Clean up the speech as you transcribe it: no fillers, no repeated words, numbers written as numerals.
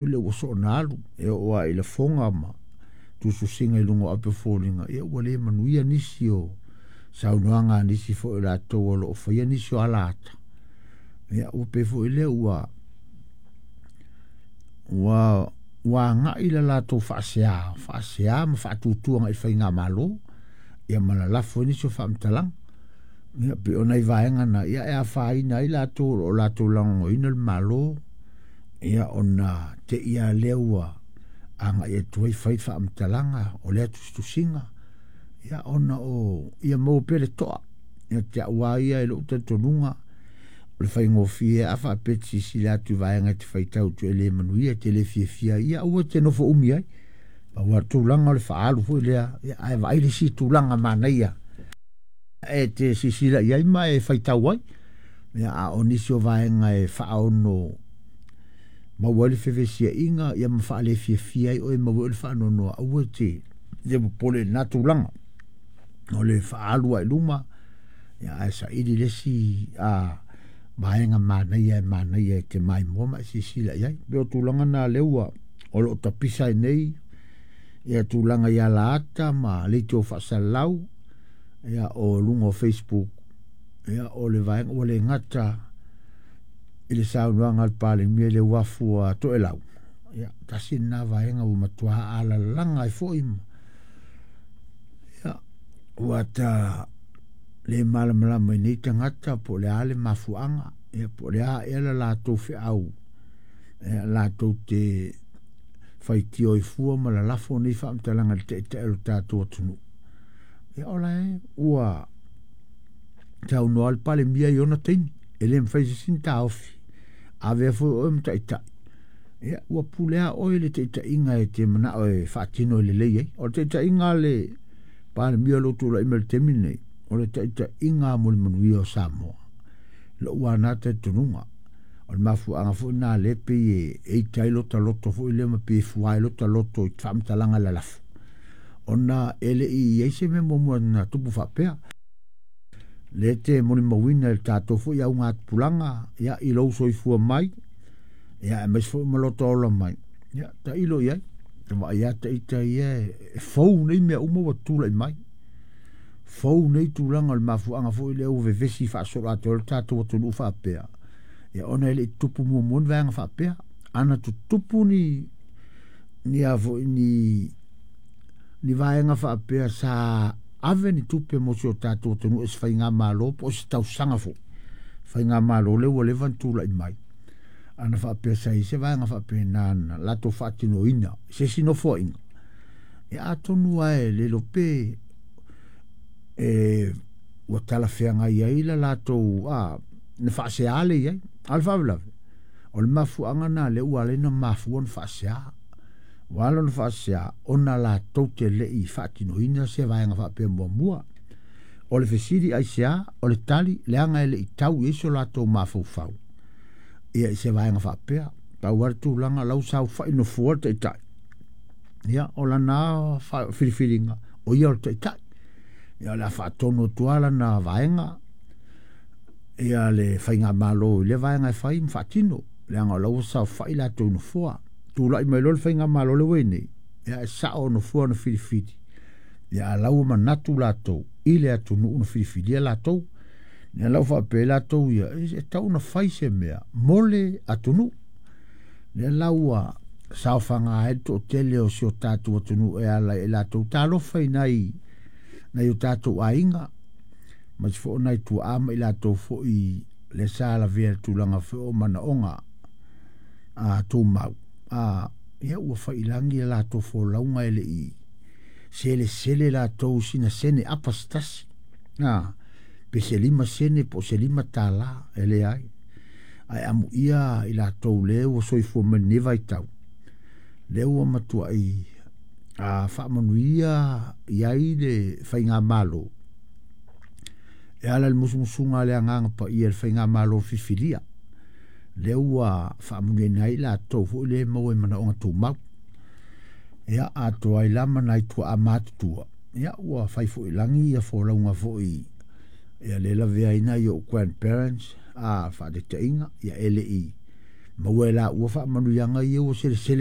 Lea ua soona alu e oo lava i lafoga ma tusitusiga i luga o ape o foliga, ia ua le manuia nisi o saunoaga a nisi foi o latou o lo o faia nisi o alaata. Ia ua pei foi lea ua agai le latou faasea, faasea ma faatutu agai i le faigamalo, ia ma lalafo ai nisi o faamatalaga. Ia pei o nai vaega na, ia e afaina ai latou o lo o latou lagolagoina le Malo, ia ona te i lava lea ua agai atu ai fai faamatalaga o lea tusitusiga, ia ona o ia maua pea le toa. Ia te au lava ia i lou talitonuga, o le faigofie a faapea e te silasila atu i vaega e te faitau atu e le manuia, e te le fiafia ai, ia aua e te nofo umi ai. Pau lava le tulaga o le faaalu foi lea, ia ae vaai le isi tulaga manaia e te silasila i ai ma e faitau ai. Ia, a o nisi o vaega e faaono maua ai le fevesiaiga, ia ma faalefiafia ai oe, maua ai le faanoanoa, aua e te popole i lena tulaga. O le faaalu lava i luma, ia ae saili le isi vaega manaia e manaia e te maimoa ma e silasila i ai. Pei o tulaga na lea ua o lo o tapisa ai nei ia tulaga i alaata ma leitio faasalalau, ia o luga o Facebook, ia o le vaega ua le gata i le saunoaga a le Palemia i le uafu a Toelau, ia tasi lena vaega ua matua alalaga ai foi ma, ia, ua ta le malamalama i nei tagata po o le a le mafuaaga, ia po o le a ea la latou feau, ia, latou te faitio ai fua ma lalafo nei faamatalaga i le taitai o le tatou atunuu. Ia o la e ua saunoa le Palemia i ona taimi, e le mafai e se isi ona taofi, avea foi oe ma taitai, ia ua pule lava oe i le taitaiga e te manao e faatino e lelei ai. O le taitaiga a le Palemia o lo o tulai mai i le taimi lenei, o le taitaiga mo le manuia o Samoa. Lou lava na talitonuga. O le mafuaaga foi lena lea pei e ita ai lota loto foi lea ma pei e fua ai lota loto i faamatalaga lalafo, ona e le i i ai se mea muamua na tupu faapea. Lea te molimauina i le tatou foi augatupulaga, ia, i lou soifua mai, ia, aemaise foi ma lota ola mai, ia, tailo i ai, te vaai lava ita ia e fou nei mea uma ua tulai mai. Fou nei tulaga o le mafuaaga foi lea ua vevesi faasoloatoa ai le tatou atunuu faapea, ia ona e le i tutupu muamua ni vaega faapea. Ana tutupu ni a foi ni vaega faapea sa ave ni tupe mo si o tatou atunuu e se faigamalo po o se tausaga foi, faigamalo lea ua leva ona tulai mai, ana faapea sa i ai se vaega faapena na latou faatinoina i se isi nofoaiga, ia atonu lava e le iloa pe ua talafeagai ai la latou na faasea le i ai. A o le faalavelave, o le mafuaaga lena lea ua ala ai ona mafua ona faasea. Ua ala ona faasea, ona latou te le i faatinoina se vaega faapea muamua. O le fesili aisea, o le tali, leaga e le i tau i ai so latou mafaufau ia i se vaega faapea. Pau lava le tulaga la ua saofai nofoa le taitai, ia o lana filifiliga, o ia o le taitai. Ia o le a faatonu atu lava lana vaega, ia le faigamalo i lea vaega e fai ma faatino, leaga o la ua saofai latou nofoa. Tulai mai loa le faigamalo le ua i nei, ia e sao nofoa na filifili, ia a la ua manatu latou i le atunuu na filifilia latou. Ia la ua faapea latou ia, e tau na fai se mea mo le atunuu. Lea la ua saofaga ai le toatele o si o tatou atunuu e ala i latou talofa i nai o tatou aiga, ma se foi o nai tuaa ma i latou foi le sa lavea i le tulaga foi o manaoga tumau. Ia ua faiilagi le latou folauga e le i selesele latou sina sene apa se tasi. Pe se 5 sene po o se $5 e leai. Ae amuia i latou le ua soifua mai lenei vaitau, lea ua matuai faamanuia i ai le faigamalo e ala i le musumusuga a le Agaga Paia i le faigamalo filifilia, lea ua faamanuiaina ai latou foi le maua i manaoga tumau. Ia, atoa ai la ma nai tuaa matutua, ia ua fai foi lagi ia folauga foi, ia le lavea ai nai ou grandparents, faataitaiga, ia e le i Maua e laua faamanuiaga ia ua selesele.